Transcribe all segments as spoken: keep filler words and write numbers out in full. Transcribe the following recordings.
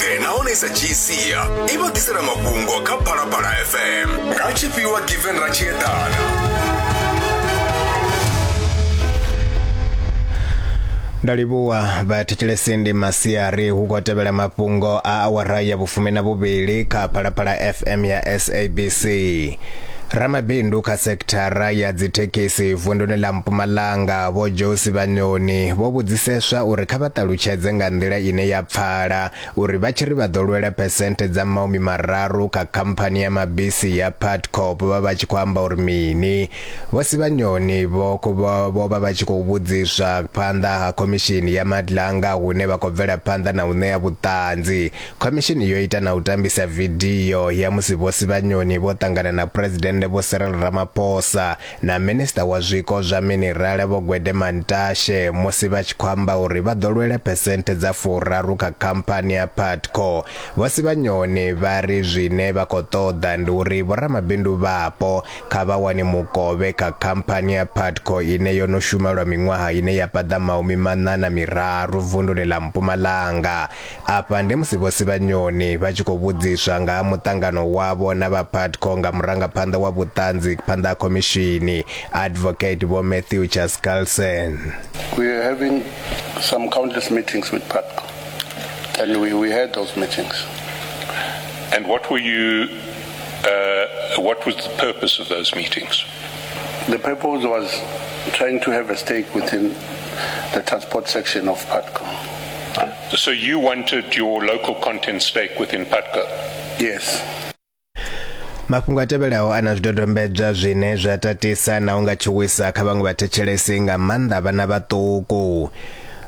Nahone sa G C i vha ḓisela mafhungo kha Phalaphala F M nga tshifhiwa Given Ratshiedana. Ndo livhuwa vhathetshelesi, ndi masiari hu khou tevhela mafhungo a awara ya vhufumi na vhuvhili kha Phalaphala F M ya S A B C. Ramabindu kha sekithara ya dzithekhisi vunduni ḽa Mpumalanga Vho Joe Sibanyoni vho vhudziseswa uri kha vha ṱalutshedze nga nḓila ine ya pfala uri vha tshi ri vha ḓo lwela phesenthe dza mahumi mararu kha khamphani ya mabisi ya Putco vha vha tshi khou amba uri mini. Vho Sibanyoni vho vho vha vha tshi khou vhudziswa phanḓa ha khomishini ya Madlanga hune vha khou bvela phanḓa na u ṋea vhuṱanzi. Khomishini yo ita na u tambisa vidio ya musi Vho Sibanyoni vho ṱangana na president Vho Cyril Ramaphosa na Minista wa zwiko zwa minerala Vho Gwede Mantashe musi vha tshi khou amba uri vha ḓo lwela phesenthe dza furaru kha khamphani ya Putco. Vho Sibanyoni vha ri zwine vha khou ṱoḓa ndi uri vhoramabindu vhapo kha vha wane mukovhe kha khamphani ya Putco ine yo no shuma lwa miṅwaha ine ya paḓa mahumi maṋa na miraru vunduni ḽa Mpumalanga. Afha ndi musi Vho Sibanyoni vha tshi khou vhudziswa nga ha muṱangano wavho na vha Putco nga murangaphanḓa wa vhuṱanzi phanḓa ha khomishini Advocate Vho Matthew Chaskalson. We are having some countless meetings with Putco, and we, we had those meetings. And what were you, uh, what was the purpose of those meetings? The purpose was trying to have a stake within the transport section of Putco. So you wanted your local content stake within Putco? Yes. Mafhungo a tevhelaho ana zwidodombedzwa zwine zwa tatisa na unga tshuwisa kha vhaṅwe vhathetshelesi nga maanḓa vhana vhaṱuku.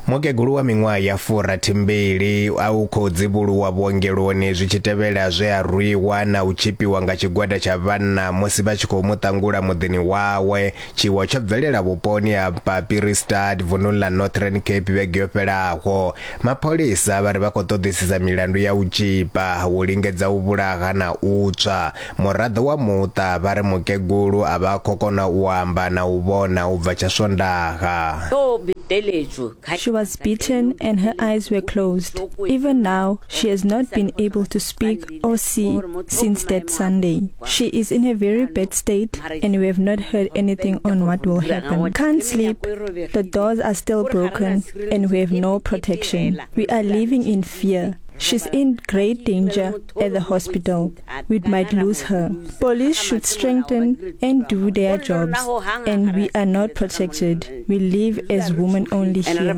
Mukegulu wa miṅwaha ya furathimbili a u khou dzivhuluwa vhuongeloni zwi tshi tevhela zwe a rwiwa na u tshipiwa nga tshigwada tsha vhanna musi vha tshi khou mu ṱangula muḓini wawe. Tshiwo tsho bvelela vhuponi ha Papiristad vununi ḽa Northern Cape vhege yo fhelaho. Mapholisa vha ri vha khou ṱoḓisisa milandu ya u tshipa, u lingedza u vhulaha na u tswa. Muraḓo wa muṱa vha ri mukegulu a vha khou kona u amba na u vhona u bva tsha Swondaha. She was beaten and her eyes were closed. Even now, she has not been able to speak or see since that Sunday. She is in a very bad state and we have not heard anything on what will happen. Can't sleep, the doors are still broken and we have no protection. We are living in fear. She's in great danger at the hospital. We might lose her. Police should strengthen and do their jobs. And we are not protected. We live as women only here.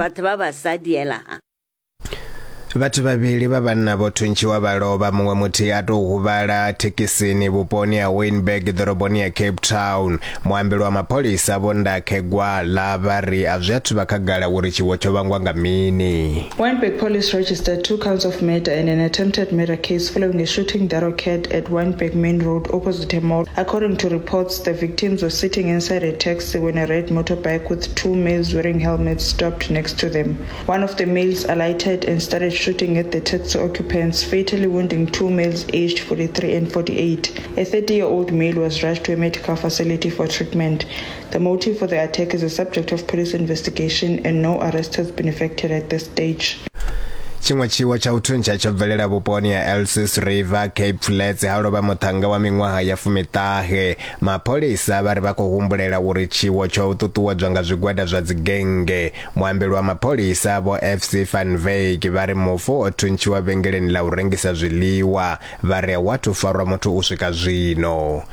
Vhathu vhavhili vha vhanna vho thuntshiwa vha lovha, muṅwe muthihi a tou huvhala thekhisini vhuponi ha Wynberg ḓoroboni ya Cape Town. Muambeli wa mapholisa Vho Ndakhe Gwala vha ri a zwi athu vha khagala uri tshiwo tsho vhangwa nga mini. Wynberg police registered two counts of murder and an attempted murder case following a shooting that occurred at Wynberg Main Road opposite a mall. According to reports, the victims were sitting inside a taxi when a red motorbike with two males wearing helmets stopped next to them. One of the males alighted and started shooting at the taxi occupants, fatally wounding two males aged forty-three and forty-eight. A thirty-year-old male was rushed to a medical facility for treatment. The motive for the attack is a subject of police investigation and no arrest has been effected at this stage. Tshiṅwe tshiwo tsha u thuntsha tsho bvelela vhuponi ha Elsies River, Cape Flats, ha lovha muṱhannga wa miṅwaha ya fumiṱahe. Mapholisa vha ri vha khou humbulela uri tshiwo tsho ṱuṱuwedzwa nga zwigwada zwa dzigennge. Muambeli wa mapholisa Vho F C Van Wyk vha ri mufu o thuntshiwa vhengeleni ḽa u rengisa zwiḽiwa, vha ri a athu farwa muthu u swika zwino.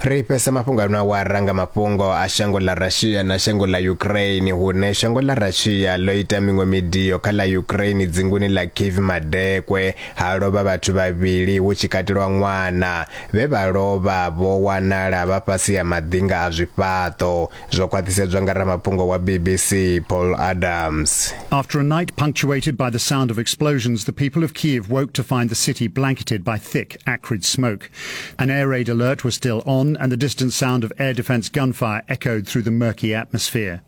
Ri fhesa mafhungo ano awara nga mafhungo a shango ḽa Russia na shango ḽa Ukraine, hune shango ḽa Russia ḽo ita miṅwe midio kha ḽa Ukraine dzinguni ḽa Kyiv madekwe, ha lovha vhathu vhavhili hu tshi katelwa ṅwana. Vhe vha lovha vho wanala vha fhasi ya maḓinga a zwifhaṱo, zwo khwaṱhisedzwa nga ramafhungo wa B B C Paul Adams. After a night punctuated by the sound of explosions, the people of Kyiv woke to find the city blanketed by thick, acrid smoke. An air raid alert was still on, and the distant sound of air defense gunfire echoed through the murky atmosphere.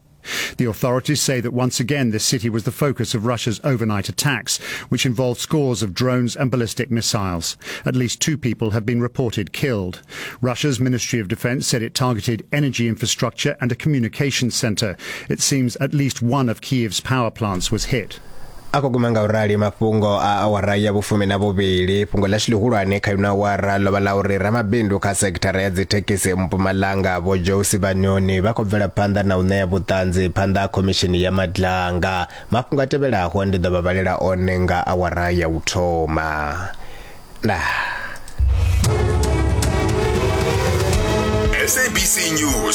The authorities say that once again this city was the focus of Russia's overnight attacks, which involved scores of drones and ballistic missiles. At least two people have been reported killed. Russia's Ministry of Defense said it targeted energy infrastructure and a communications center. It seems at least one of Kyiv's power plants was hit. A khou guma nga u rali mafhungo a awara ya vhufumi na vhuvhili. Fhungo ḽashu ḽihulwane kha ino awara ḽo vha ḽa uri ramabindu kha sekithara ya dzithekhisi Mpumalanga Vho Joe Sibanyoni vha khou bvela phanḓa na u ṋea vhuṱanzi phanḓa ha khomishini ya Madlanga. Mafhungo a tevhelaho ndi ḓo vha vhalela one nga awara ya u thoma. Ndaa. S A B C News.